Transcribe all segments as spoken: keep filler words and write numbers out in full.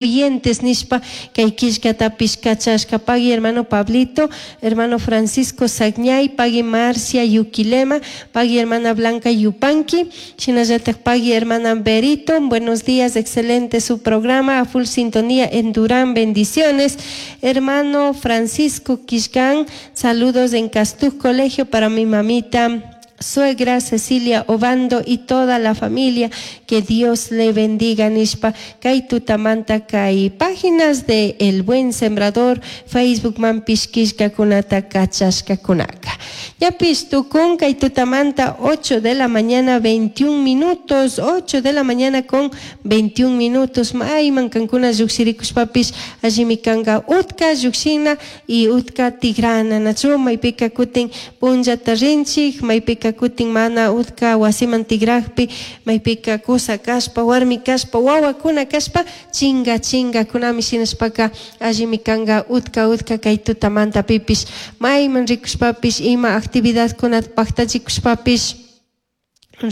Oyentes nishpa kay killkatapish kachashka. Pagui hermano Pablito, hermano Francisco Sagñay, pagui Marcia Yuquilema, pagui hermana Blanca Yupanqui, shinallatak pagui hermana Berito, buenos días, excelente su programa, a full sintonía en Durán, bendiciones. Hermano Francisco Quishcan, saludos en Castuj Colegio para mi mamita suegra Cecilia Obando y toda la familia, que Dios le bendiga nishpa kay tutamanta kay páginas de El Buen Sembrador Facebook manpish killkakunata kachashkakunaka. Ñapish tukun kay tutamanta ocho de la mañana veintiún minutos, ocho de la mañana con veintiún minutos, mayman kankuna llukshirikushpapish allimi kanka utka llukshina y utka tigrana, nachu maypika kutin punllata rinchik, maypika kutin mana utka wasiman tigrajpi, maypika kusa kashpa, warmi kashpa, wawakuna kashpa, chinga chinga kunami, shinashpaka allimi kanka utka utka kay tutamanta pipish mayman rikushpapish ima actividadkunata paktachikushpapish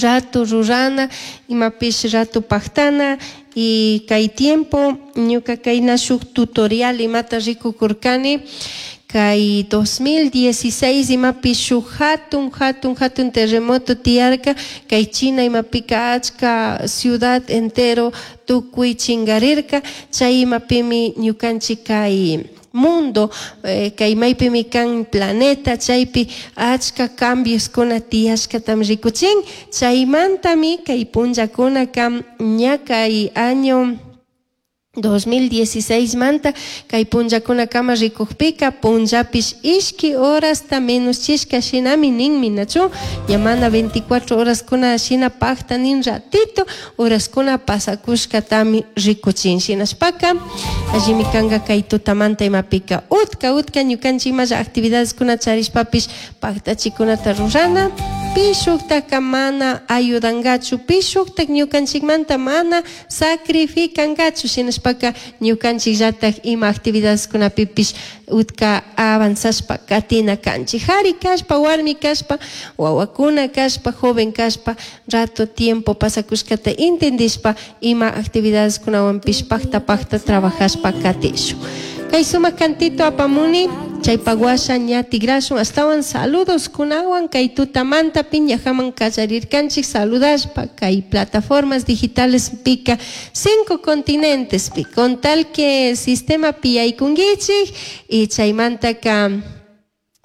rato rurana, imapish rato paktana. Y kay tiempo ñuka kayna shuk tutorial imata rikukurkani kay dos mil dieciséis imapi shuk hatun hatun hatun terremoto tiyarka kay China imapika, achka ciudad entero tukuy chingarirka. Chay imapimi ñukanchik kay mundo eh, kay maypimi kan planeta, chaypi achka cambios kuna tiyashkatami rikuchin. Chaymantami kay punllakunaka ña kay año dos mil dieciséis manta kay punllakunakama rikukpika punllapish ishki horasta menos chishka shinami ninmi, nachu ña mana veinticuatro horas kuna shina pakta nin, ratito horaskuna pasakushkatami rikuchin. Shinashpaka allimi kanka kay tutamanta imapika utka utka ñukanchik imalla actividades kuna charishpapish paktachikunata rurana. Pi shuktaka mana ayudangachu, pi shuktak ñukanchikmanta mana sacrificangachu. Shinashpaka ñukanchikllatak ima actividades kunapipish utka avanzashpa katina kanchik, jari kashpa, warmi kashpa, wawakuna kashpa, joven kashpa, rato tiempo pasakushkata entendishpa ima actividades kunawanpish pakta pakta trabajashpa katishun. Kay sumak cantito apamuni, chaypak washa ña tigrashun astawan saludos kunawan. Kay tutamanta piñajaman kallarirkanchik saludashpa kay plataformas digitales pika cinco continentes pi, con tal que sistema piyaykunkichik y chaymantaka,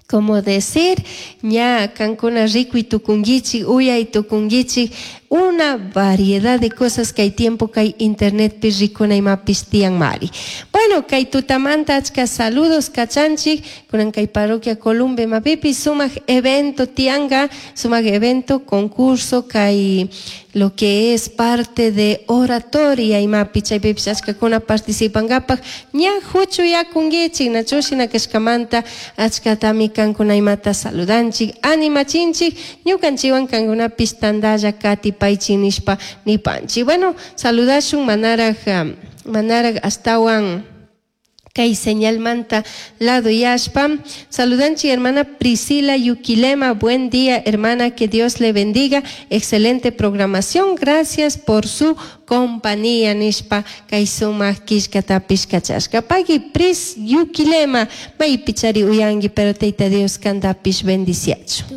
como decir, ña kankuna rikuy tukunkichik, uyay tukunkichik una variedad de cosas que hay tiempo kay internet pi rikuna imapish tiyan mari. Bueno, kay tutamanta achka saludos kachanchik, kunan kay parroquia Columbe mapipi sumak evento tianga, sumak evento, concurso kay lo que es parte de oratoria imapi chaypipish achkakuna participangapak ña huchuyakunkichik, nachu shina kashkamanta achkatami kankuna imata saludanchik, animachinchik, ñukanchikwan kankunapish tandalla katipaychik nishpa nipanchik. Bueno, saludashun manaraj manaraj astawan kay señalmanta lado yashpa. Saludanchik hermana Priscila Yuquilema, buen día, hermana, que Dios le bendiga, excelente programación, gracias por su compañía nishpa kay sumak killkatapish kachashka. Pagui Pris Yuquilema, maypichari uyangi, pero Tayta Dios kantapish bendiciachu.